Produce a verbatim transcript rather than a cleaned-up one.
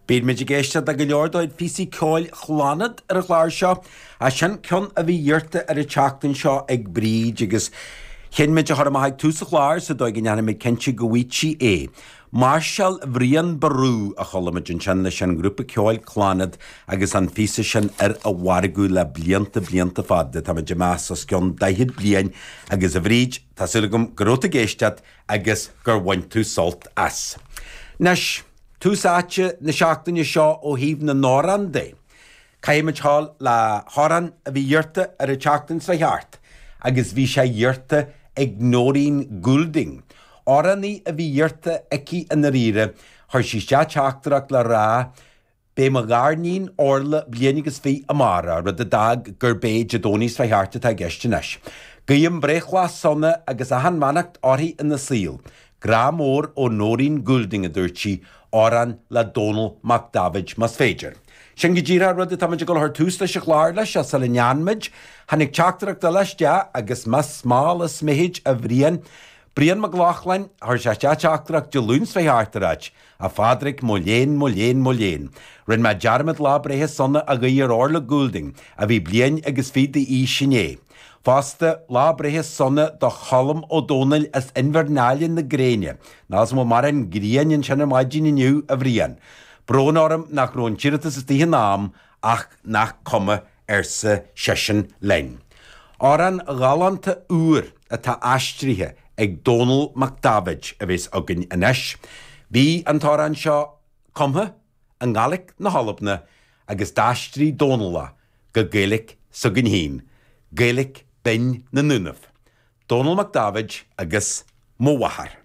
Bíonn muid ag éisteacht le go leor de chuid phíosaí ceoil Chlannad ar an chlár seo, ach sin ceann a bhí iarrta ar an tseachtain seo ag Bríd agus chinn muid a chur amach ag tús an chláir sa dóigh go ndéanfaidh muid cinnte go bhfaighidh sí é. Máirseáil Bhriain Ború a chuala muid ansin leis an ngrúpa ceoil Clannad agus an phíosa sin ar a mhargadh le blianta blianta fada, tá muid ag meas os cionn daichead bliain agus a Bhríd, tá súil agam go raibh tú ag éisteacht agus gur bhain tú sult as. Anois, tús áite na seachtaine seo ó thaobh na n-amhrán de. Caithfidh muid gabháil le hamhrán a bhí iarrta ar an tseachtain seo thart agus bhí sé iarrta ag Nóirín Goulding. Amhránaí a bhí iarrta aici i ndáiríre, chuir sí isteach teachtaireacht le rá Beidh mo ghariníon Orla bliain agus fiche amárach, rud a d'fhág gurb é Dé Domhnaigh seo thart atá i gceist anois. Guím breithlá sona agus achan bheannacht uirthi ina saol. Grá mór ó Nóirín Goulding, a dúirt sí, amhrán le Dónall Mac Daibhéid más féidir. Sin go díreach an rud atá muid ag dul a chur tús leis an chlár leis, ach sula ndéanfaidh muid, tháinig teachtaireacht eile isteach agus más mall is mithid a Bhriain, Brian Mac Lochlainn, chuir sé isteach teachtaireacht Dé Luain seo thart ag ráit, A Phádraig, mo léan, mo léan, mo léan. Rinne mé dearmad lá breithe sona a ghuí ar Orla Goulding, a bhí bliain agus fiche d'aois inné. Fosta, lá breithe sona do Cholm Ó Dónaill as Inbhir Náile na Gréine. Níl 's agam an bhfuil mórán grian ansin ar maidin inniu, a Bhriain. Brón orm nach raibh an t-iarratas istigh in am, ach nach cuma, arsa seisean linn. Amhrán galánta úr atá aistrithe ag Dónall Mac Daibhéid a bheas againn anois. Bhí an t-amhrán seo cumtha i nGaelic na hAlban agus d'aistrigh Dónall é go Gaeilic s'againn féin, Gaeilic binn na nDúnaibh. Dónall Mac Daibhéid agus Mo Mháthair.